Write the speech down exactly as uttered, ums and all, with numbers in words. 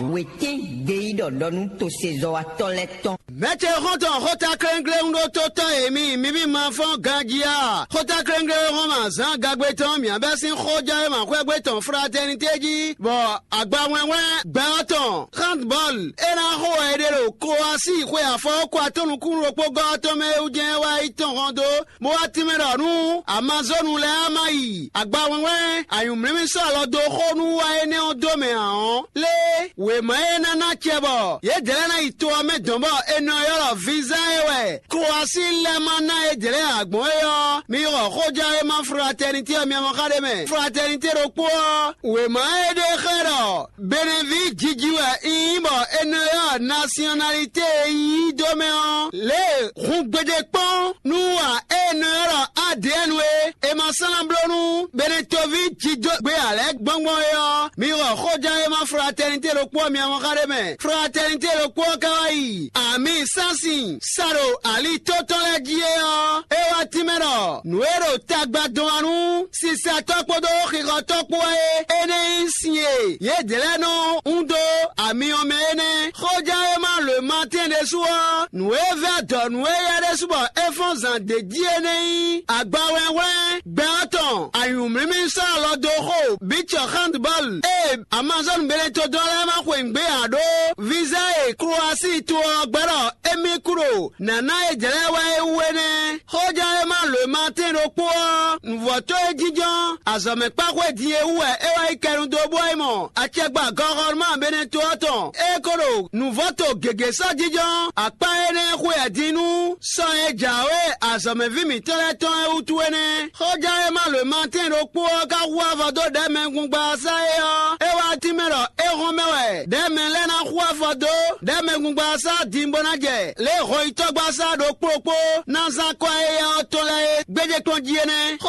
Wětín gbeyíɖɔ ɖɔ nú tosezɔ́watɔ́ lɛ́ɛ tɔn. Mɛ̌ ce xɔ́ntɔn xóta kléŋkléŋ ɖó tó tɔ́ e mi mi bí ma fɔ́n ganjí a? Xóta kléŋkléŋ e hɔn ma zǎn gagbe tɔn mǐ bɛ́ sín xójɛ́wéma xwɛ́gbé tɔn Fratɛnité jí, bɔ agba wlɛ́nwlɛ́n gbɛ ɔ́ tɔn handbɔl é ná xo wɛ è ɖe ɖo Klowasíi xwe afɔwɔ́kɔ atɔ́ nukúnnú ɖokpó gɔ́ ɔ́ tɔn mɛ é wú jɛ́n é wá yi tɔn hɔn dó, bó wá tínmɛ ɖɔ nú Amazɔ́nu lɛ́ɛ á má yi agba wɛnwɛn anyǔmlímí sɔ́ alɔ dó xó nú wa énɛ́ ɔ́ dó mɛ ǎ ɔ́, lé wěma e ná ná acɛ bɔ yědɛɛ lɛ́ɛ ná yi to ɔ́ mɛ dɔn bɔ è nɔ ylɔ́ vǐzán e wɛ Klowasíi lɛ́ɛ ma ná yědɛɛ lɛ́ɛ ǎ gbɔn é ɔ́, mi xɔ xójɛ́wéma Fratɛnitɛ́ ɔ́ mɛ xá ɖé mɛ. Fratɛnitɛ́ ɖokpó ɔ́, wěma e ɖe xlɛ́ ɖɔ Beneví jiji wɛ un nyí bɔ è nɔ ylɔ́ nasyɔnalité e un nyí dó mɛ ɔ́, lě e hun gbeɖé kpɔ́n nú wa e è nɔ ylɔ́ A D N é, è ma sɔ́ ná bló nú Benetoví jidógbe ǎ lɛ́ɛ gbɔngbɔn é ɔ́, mi xɔ xóján e ma Fratɛnité ɖokpó ɔ́ mia mɔ xá ɖé mɛ. Fratɛnité ɖokpó ɔ́ ka wá yi ami sánsin sa ɖo ali tó tɔn lɛ́ɛ jí é ɔ́, é wá tínmɛ ɖɔ nǔ e ɖo tagba dɔn wá nú sisatɔ́ kpódó xixɔtɔ́ kpó wɛ é. Énɛ́ nyí sin e yědɛɛ lɛ́ɛ nɔ hún dó ami ɔ́ mɛ é nɛ́. Xóján e ma lǒ ma tɛ́n ɖésú ɔ́, nǔ e vɛ́ adɔ̌ nú éyɛ́ ɖésú bɔ é fɔ́n zǎn d'é jí é nɛ́ nyí agba wlɛ́nwlɛ́n gbɛ ɔ́ tɔn anyǔmlímí sɔ́ alɔ dó xo bǐ cɔ handbɔl e Amazɔ́nu Benetodɔn lɛ́ɛ ma xweyǐgbe ǎ ɖó víza e Klowasíi to ɔ́ gbɛ́ ɖɔ émí kú ɖo nǎ ná yědɛɛ lɛ́ɛ wɛ é wú é nɛ́. Xóján e ma lǒ ma tɛ́n ɖokpó ɔ́, nǔvɔ́tɔ́ e jínjɔ́n azɔ̌mɛkpáxwé din e wú wɛ é wá yi kɛnu dó bó wá yi mɔ acɛgba gɔxɔnuma Beneto ɔ́ tɔn. É ko ɖo nǔvɔ́to gěgé sɔ́ jínjɔ́n akpá énɛ́ xwe ɛ din nú sɔ e jǎwe azɔ̌mɛví mǐtɔn lɛ́ɛ tɔn é wútu é nɛ́. Xóján e ma lǒ ma tɛ́n ɖokpó ɔ́ ka hu avɔ dó ɖɛ̌mɛgungbasá é ɔ́, é wá tínmɛ ɖɔ é hɔn mɛ wɛ ɖɛ̌mɛ lɛ́ɛ ná hu afɔ dó ɖɛ̌mɛgungbasá din bó ná jɛ lě e hɔnyitɔ́gbasá ɖokpó ɖokpó ná zán kɔ éyɛ́ ɔ́ tɔn lɛ́ɛ é gbéjé kplɔ́n jí é nɛ́.